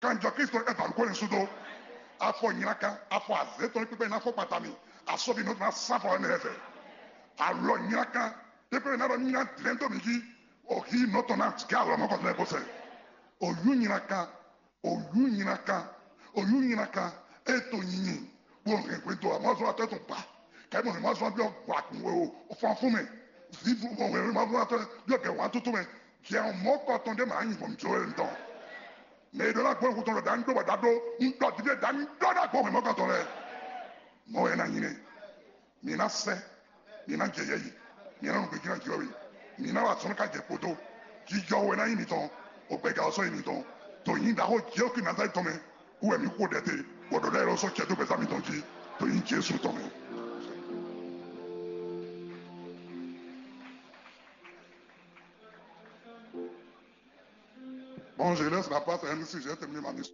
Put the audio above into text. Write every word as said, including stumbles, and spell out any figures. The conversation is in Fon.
Kanjɔ Kristo e ba nukɔn ne sudo. Afɔ nyina kan, afɔ azé tɔn kpekpe na fɔ kpata mi. Asɔbi nɔ na sa fɔ ne fɛ. Alɔ nyina kan, kpekpe na ɖɔ nyina dlɛn to mi ji. O hi nɔ tɔn na ga alɔ mɔ kɔtɔn ko sɛ. O yu nyina kan, o yu nyina kan, o yu nyina kan. E to nyinyi, bo hɛn hwe do amɔ zɔ atɔ tɔn ba. Kɛ mo hɛn ma zɔ bi o gba kun we o, o fɔn fun mɛ. Zivu mo hɛn ma zɔ atɔ bi o gɛ wan tutu mɛ. Jɛ mɔ kɔtɔn de ma nyi bɔ mi jo e ntɔn. Mɛ e ɖɔ ná gbɔ xutɔn ɖɔ ɖaŋ ɖó bɔ ɖa ɖó, un ɖɔ ɖiɖe ɖaŋ ɖó ná gbɔ hwɛmɔgɔtɔ lɛ́ɛ. Mɔ wɛ ná nyi nɛ. Mi ná sɛ, mi ná jɛ yɛ yi, mi ná nɔ gbɛjí ná jɔ we, mi ná wa sɔ́ ká jɛ kpódó. Jijɔ wɛ ná nyí mitɔn, o gbɛga ɔ́ sɔ́ nyí mitɔn. To nyí ɖaxó Jezu Nazalɛ́ti tɔn mɛ, wú wɛ mi xo ɖɛ te, bɔ ɖɔ ɖɛ lɔ sɔ́ cɛ dó gbɛzá mitɔn jí, to nyí Jezu tɔn mɛ. Bon, je laisse la place à M C, j'ai terminé ma mission.